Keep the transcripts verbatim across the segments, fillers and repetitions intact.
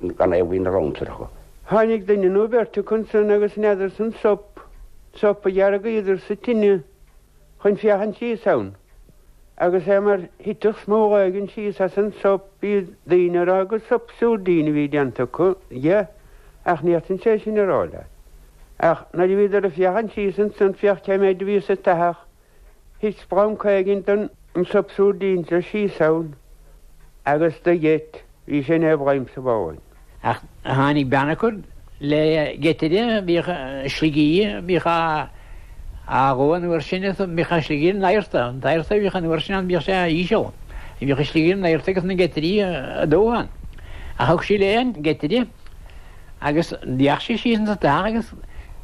Gan é bhí na ransar acu. Tháinig duine nó beirt ansan agus n'fheadar san sop, sop a dheargaíodar sa tine chun féachaint síos ann. Agus é mar thitfeadh smól éigin síos as an sop bhí daoine ag rá gur sop súrdín a bhí déanta acu dhe, ach ní fhéadfainn sé sin a rá leat. Ach nuair a bhíodar ag féachaint síos ansan féach cé méid a bhí sa teach, thit splanc éigin den sop súrdín seo síos ann agus do gheit, bhí sin é bhraim sa bháin. Ach tháinig bean acu le geitire bhíodh sliogaí bhíodh á á dhó an uair sin bhíodh an sliogaí in adharta, an t-adharta a bhíodh an uair sin ann bhíodh sé íseal. Bhíodh an sliogaí in adharta agus na geitirí a dó ann. Ach thug sí léi an geitire agus d'fhéach sí síos insa teach agus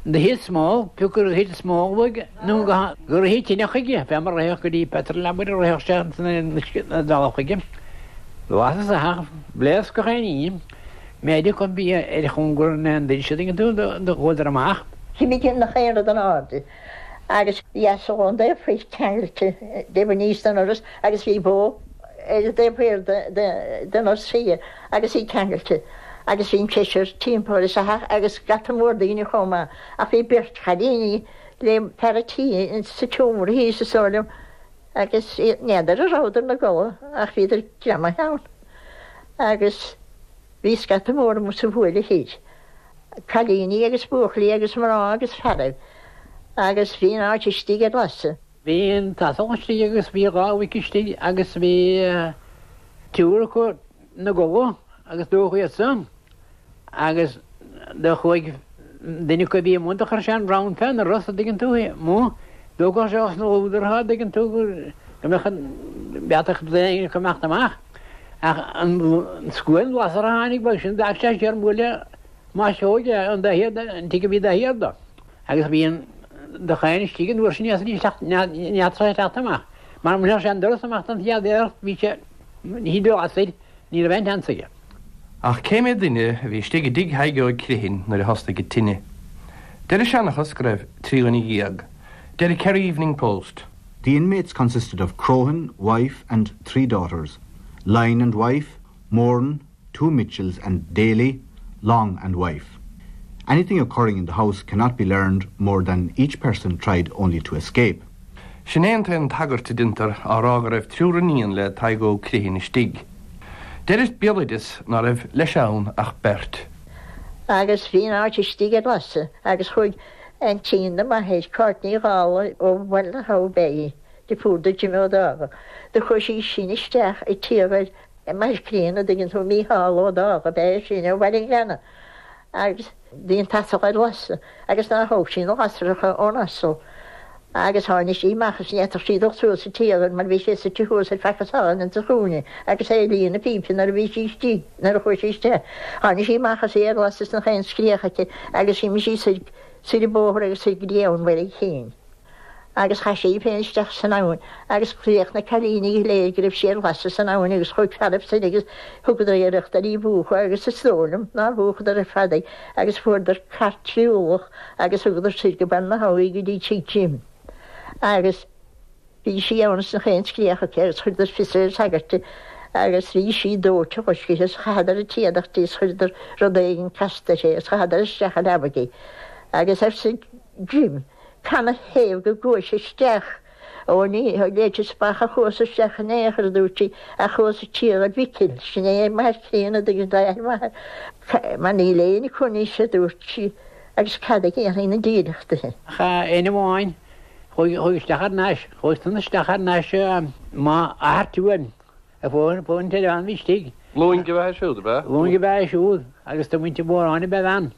do thit smól, pioc gur thit smól uaidh nó gur thit tine chuige, fé mar a ritheadh go dtí petrol abair a ritheadh sé ins na dtalamh chuige. Lasadh sa theach, bhléasc gach aon ní, méid acu bhí ar chóngar na ndoirse an dtuigeann tú, do chuadar amach. Chimigh nach aon rud in airde agus bhí asal ón dtaobh thoir ceangailte taobh aníos den doras agus bhí bó ar an dtaobh thoir den doras thiar agus í ceangailte agus bhí an seisear timpeall ar sa theach agus scata mór daoine chomh maith ach bhí beirt chailíní le fear an tí sa tseomra thíos is dóigh liom agus n'fheadar a rabhadar ina gcodladh ach bhíodar greamaithe ann agus bhí scata mór amuigh sa bhuaile thoir, cailíní agus buachaillí agus mná agus fearaibh agus bhí an áit istigh ar lasadh. Bhí an t-asal istigh agus bhí dhá mhuic istigh agus bhí triúr acu ina gcodladh agus dódh iad san agus do chuaigh duine acu a bhí amuigh do chuir sé an bonn fén ndoras an dtuigeann tú amuigh d'fhágfadh sé osna lúdar an dtuigeann tú go mbeadh an bheatach daoine acu imeacht amach ach an scuan lasair a tháinig bheadh sin d'fhág sé siar buaile maisitheoige an dá thiar an tigh a bhí dá thiar dó agus bhí an do chain istigh an uair sin ní fhéadfadh sé teacht amach mar mura sé an doras amach don chéad iarracht bhí sé ní do lasair ní raibh aon tseans aige. Ach cé mhéad duine a bhí istigh i dtigh Thaidhg Óig Criomhthain nuair a thosnaigh an tine? Deir an seanchas go raibh trí dhuine dhéag. Deir an Kerry Evening Post. The inmates consisted of Crohan, wife and three daughters, Lyne and wife, Moran, two Mitchells and Daly, Long and wife. Anything occurring in the house cannot be learned more than each person tried only to escape. Sin é an t-aon tagairt a déantar á rá go raibh triúr iníon le Tadhg Óg Criomhthain istigh. Deir an béaloideas ná raibh leis ann ach beirt. Agus bhí an áit istigh ar lasadh agus chuaigh aintín do m'athair, Cáit Ní Dhálaigh ó Bhaile na hAbha ab ea í, deirfiúr do Jimmy Ó Dálaigh. Do chuaigh sí sin isteach i tír m'athair críonna, an dtuigeann tú, Mícheál Ó Dálaigh ab ea é sin ó Bhaile an Ghleanna. Agus bhí an t-asal ar lasadh agus nár thóg sí na lasracha ón asal. Agus tháinig sí amach is ní fhéadfadh sí dul suas sa tír mar bhí sé suite thuas ar feadh cosán insa chúinne agus é ag líonadh pípe nuair a bhí sí istigh, nuair a chuaigh sí isteach. Tháinig sí amach is í ar lasadh is nach aon scréach aici agus d'imigh sí soir, soir an bóthar agus soir go dtí abhainn Bhaile an Chinn. Agus chaith sí í féin isteach san abhainn agus chreach na cailíní go léir go raibh sí ar lasadh san abhainn agus chuaigh fearaibh soir agus thugadar iarracht ar í a mhúchadh agus is dóigh liom nár mhúchadar ar fad í agus fuaireadar cairt trí ualach agus thugadar soir go Baile na hAbha í go dtí tigh Jim. Agus bhí sí ann is nach aon scréach aici agus chuireadar fios ar an sagart agus bhí sí dóite loiscthe is chaitheadar an t-éadach di is chuireadar rud éigin casta uirthi agus chaitheadar isteach i leabaidh í. Agus arsa Jim, Canathaobh go gcuais isteach? Ó ní léiteas amach a chuas isteach in aon chor, a dúirt sí, ach chuas ag tiarraidh Mhicil, sin é m'athair críonna, an dtuigeann tú, athair m'athar, mar níl éinne acu anois, a dúirt sí, agus cad a dhéanfaidh na dílleachtaithe? Ach éinne amháin, chuaigh isteach thar n-ais, chuaigh san isteach thar n-ais m'athair Tuaim, a fuair an t-oileán a bhí istigh. Lúing ab ea é siúd, ab ea? Lúing ab ea é siúd, agus de mhuintir Mhóráin ab ea a bhean,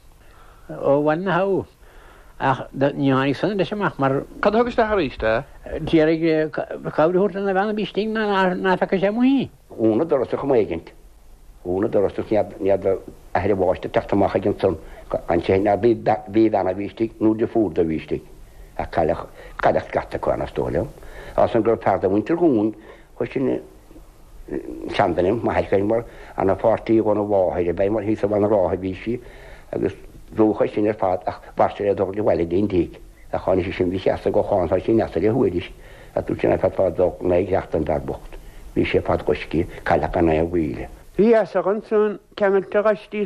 ó Bhaile na hAbha. Ach ní tháinig san leis amach mar. Cad a thug isteach arís é? D'iarraidh cabhair a thabhairt lena bhean a bhí istigh ná feaca sé amuigh í. Dhún an doras ar chuma éigint. Dhún an doras agus ní fheadar athair an bháiste ag teacht amach ag ansan ansin n'fheadar bhí bhean a bhí istigh nó deirfiúr dó a bhí istigh. Ach cailleadh, cailleadh scata acu ann is dóigh liom. Ansan go raibh fear de mhuintir Dhúin, chuir sin seanduine, m'athair féin mar ana pháirtí dhona mháthair ab ea mar thíos i Bhaile na Rátha a bhí sí agus dódh é sin ar fad ach mhair sé le dul abhaile go dtí an tigh ach tháinig sí sin bhí sí asa go chán tá sí in easa le huair ach dúirt sé ná feadfá dul ná ag theacht an bhfear bocht bhí sé fad loiscthe cailleadh gan aon mhíle. Bhí asal ansan ceangailte gaistí